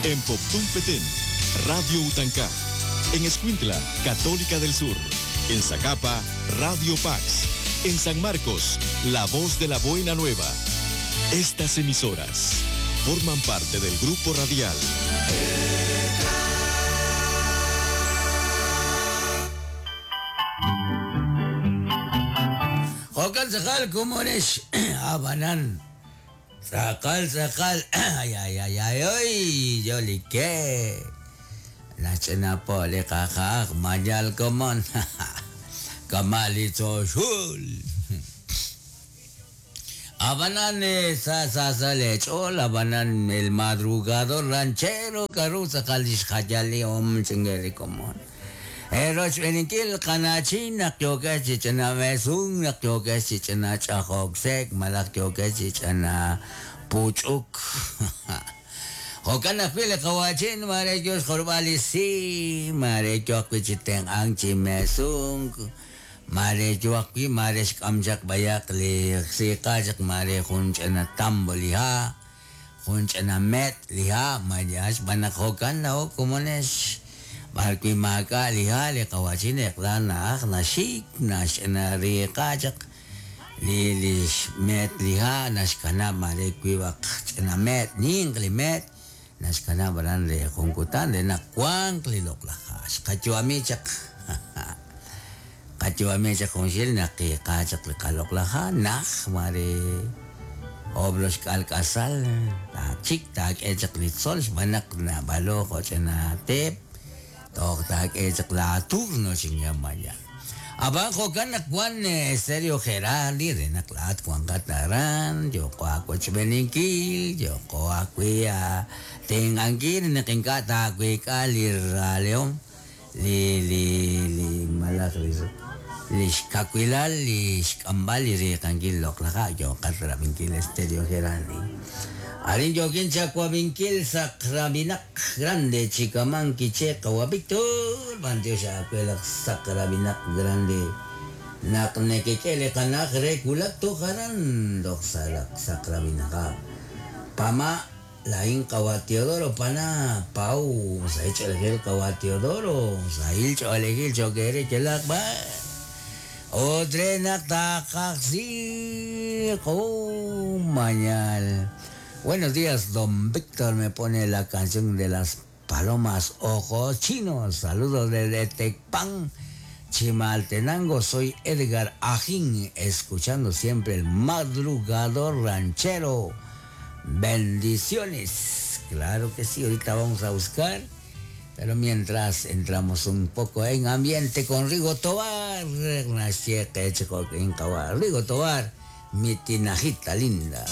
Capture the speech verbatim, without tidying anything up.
En Poptún Petén, Radio Utancá. En Escuintla, Católica del Sur. En Zacapa, Radio Pax. En San Marcos, La Voz de la Buena Nueva. Estas emisoras forman parte del grupo radial Jokan sakal kumonesh abanan sakal sakal ay ay ay ay ay yolike nachena po le kakak manyal komon kamali choshul abanan sa sa sa lechol abanan el madrugador ranchero karu sakal ishkhayali om chingeri komon Eroch beninkil kanachin nakyoke chichana mesung nakyoke chichana chahoksek malakyoke chichana puchuk. Hokan akpile kawachin marekyos korbalisi marekyo akpichiten angchi mesung marekyo akpi maresh kamjak bayak li sikajak mare kunchana tambo liha kunchana met liha mayash banak hokan na hokumonesh Barki maka liha li kawachin eklan na nashik nash na riqajak li li met liha nash kana mare kuiwak na met ning li met nash kana baran le kunkutan le nakwang li loklahash kachuamichak kachuamichak kunshil naqiqajak li kaloklaha nakh mare oblos kalkasal ta chik ta echak li sol banak na balo na tep Tok echak la turno chinyamaya. Abajo kanak wan Estéreo Geraldi de naklat Juan Kataran, yo ko chbeninkil, yo ko akuya tengangkir nekinkata akuikalir león li li li malak li lixkakuilal lixk'ambal riqankil loqlaqa yo qatrabinkil Estéreo Geraldi. Arin yokin chacuabinkil sakrabinak grande chicaman quiche kawabictor bantio chacuelak sakrabinak grande naknekekele kanak rekulak tojaran doxalak sakrabinaka pama lain kawa Teodoro pana pau saichelgel kawa Teodoro sail cholegil chokere chelak ba odrenak takaxi mañal. Buenos días, don Víctor, me pone la canción de las palomas ojos chinos. Saludos desde Tecpan, Chimaltenango. Soy Edgar Ajín, escuchando siempre el madrugador ranchero. Bendiciones. Claro que sí, ahorita vamos a buscar. Pero mientras entramos un poco en ambiente con Rigo Tobar. Rigo Tobar, mi tinajita linda.